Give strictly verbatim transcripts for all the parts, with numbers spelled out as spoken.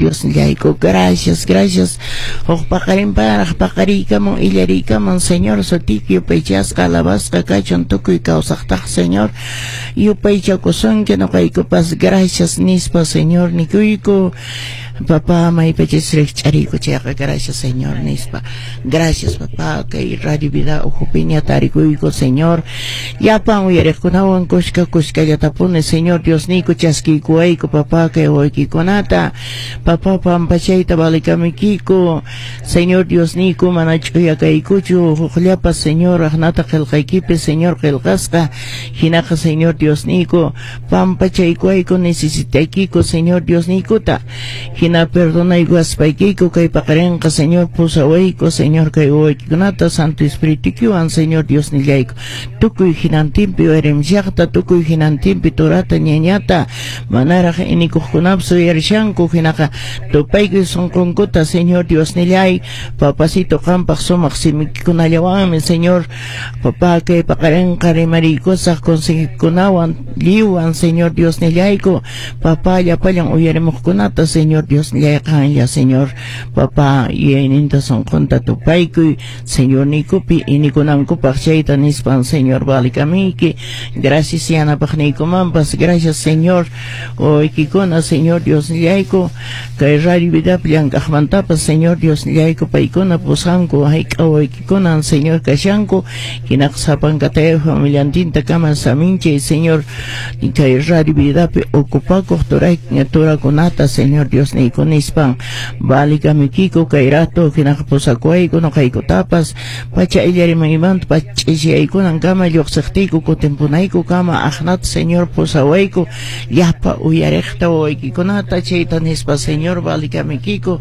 Diosnillayku. Gracias, gracias. Huk paqarinparaq paqariykamun illariykamun, Señor, sutiyki yupaychasqa alabasqa kachun tukuy kawsaqtaq, Señor, yupaychakusunki noqaykupas gracias nispa, Señor, nikuyku. Papá, maypachis rikch'ariyku chayqa gracias, Señor, nispa. Gracias, papá, kay Radio Vida ukhupiña tarikuyku, Señor. Llapan uyariqkunawan kushka kushkallatapuni, Señor Diosniyku, chaskiykuwayku, papá, kay wawaykikunata. Papá, pampachayta valikamuykiku, Señor Diosniyku, mana ch'uya kaykuchu, hukllapas, Señor, aqnata qillqaykipi, Señor, qillqasqa. Hinaqa, Señor Diosniyku, pampachaykuwayku, necesitaykiku, Señor Diosniykuta. Hina perdonaykuwaspaykiku kay paqarinqa, Señor, pusawayku, Señor, kay wawaykikunata Santo Espiritukiwan, Señor Diosnillayku, tukuy hinantinpi uyarimllaqta, tukuy hinantinpi turata ñañata manaraq inikuqkunapas uyarishanku, hinaqa tupaykuy sunqunkuta, Señor Diosnillay, papacito, qampaq sumaq simikikunallawanmi, Señor, papá, kay paqarinqa rimariykusaq consejikunawan lliwwan, Señor Diosnillayku, papá, llapallan uyarimuqkunata, Señor Diosnillay, qanlla, Señor, papá, yuyayninta sunqunta tupaykuy, Señor niykupi inikunankupaq chayta nispan, Señor, valikamiyki. Gracias yanapaqniykumanpas, gracias, Señor, wawaykikuna, Señor Diosnillayku, kay Radio Vidapi llank'aqmantapas, Señor Diosnillayku, paykuna pusanku hayk'a wawaykikunan, Señor, kashanku, hinaqa sapankatay familiantinta kama saminchay, Señor, kay Radio Vidapi ocupakuq turay turakunata, Señor Diosniyku, nispan valikamuykiku kay rato, hinaqa pusakuwayku noqaykutapas pacha illarimaymanta pach'ishaykunan kama lluqsiqtiyku kutinpunayku kama aqnata, Señor, pusawayku llapa uyariqta wawaykikunata chayta nispa, Señor, valikamuykiku.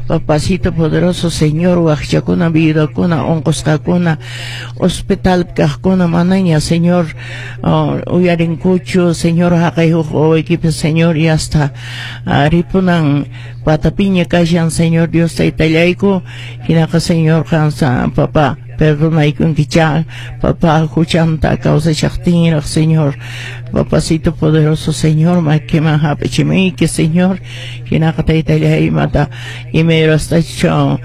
Papacito poderoso, Señor, waqchakuna, viudakuna, unqusqakuna, hospital kaqkuna manaña, Señor, uh, uyarinkuchu, Señor, haqay huk wawaykipas, Señor, y hasta uh, ripunan patapiña kashan, Señor Dios taytallayku, hinaqa, Señor, qansa, papá, perdonaykunkicha, papá, huchanta kawsashaqtinraq, Señor, papacito poderoso, Señor, makiman hap'ichimuyki, Señor, hinaqa taytallay imata imayrastachu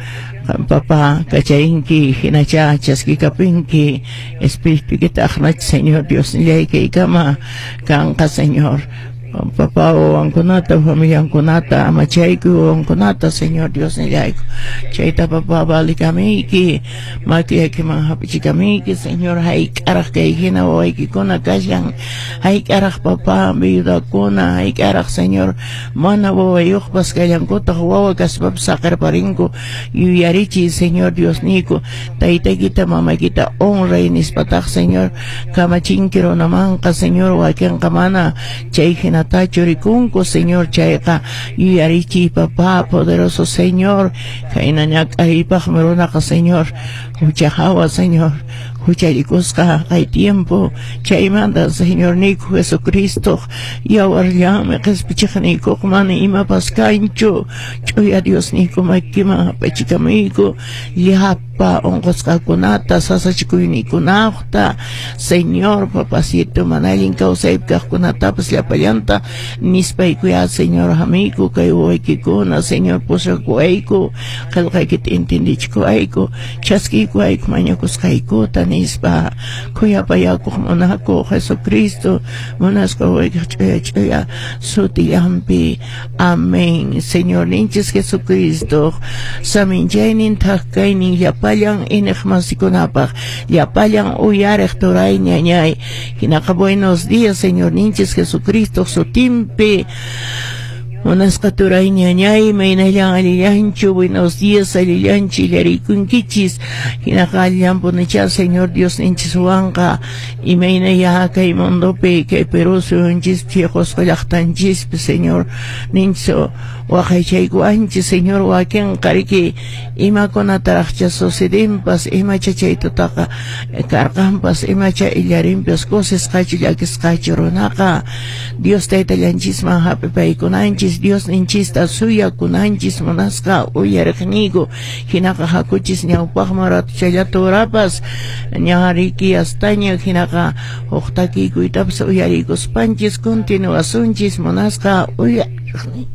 papá kacharinki, hinacha chaskikapinki espiritukita aqnach, Señor Diosnillay, kaykama kanqa, Señor, papá, wawankunata, familiankunata amachaykuy, wawankunata, Señor Diosnillayku, chayta, papá, valikamiyki, makiykiman hap'ichikamiyki, Señor. Hayk'araq kay hina wawaykikuna kashan? Hayk'araq, papá, viudakuna? Hayk'araq, Señor, mana wawayuqpas kallankutaq, wawa kaspapas saqirparinku? Yuyarichiy, Señor Diosniyku, taytaykita mamaykita honray nispataq, Señor, kamachinki runamanqa, Señor, wakinqa mana chay hinatachu rikunku, Señor, chayqa yuyarichiy, papá poderoso, Señor, khayna ñak'ariypaqmi runaqa, Señor, hucha hawa, Señor, huchallikusqa kay tiempo. Chaymanta, Señor niyku, Jesucristo yawarllanmi qispichiqniykuq, mana imapas kanchu. Ch'uya Diosniyku, makiman hap'ichikamuyku llapa unqusqakunata, sasachikuyniykunaqta, Señor, papacito, mana allin kawsaypi kaqkunatapas llapallanta nispaykuya, Señor, hamiyku kay wawaykikuna, Señor, pusakuwayku, qillqaykita entendichikuwayku, chaskiykuwayku mañakusqaykuta nispa, khuyapayakuq munakuq Jesucristo munasqa wawaykiq ch'uya ch'uya sutillanpi, amén. Señor ninchis Jesucristo saminchaynin thak kaynin llapallan iniqmasikunapaq, llapallan uyariq turay ñañay. Hinaqa buenos días, Señor ninchis Jesucristo sutinpi. Munasqa turay ñañay, maynallan allillanchu? Buenos días, allillanchu illariykunkichis? Hinaqa allinpunicha Señor Dios ninchiswanqa. Imaynaya kay mundopi, kay Perú suyunchispi, Qusqu llaqtanchispi, Señor ninchis waqaychaykuwanchis, Señor, wakinqa riki imakunataraqcha sucedinpas, imacha chay tutaqa karqanpas, imacha illarinpas, kusisqachu llakisqachu runaqa. Dios taytallanchisman hap'ipaykunanchis, Dios ninchista suyakunanchis, munasqa uyariqniyku. Hinaqa hakuchis ñawpaqman ratuchallata urapas ña riki astaña, hinaqa huk takiykuytapas uyariykuspanchis continuasunchis, munasqa uyariqniy.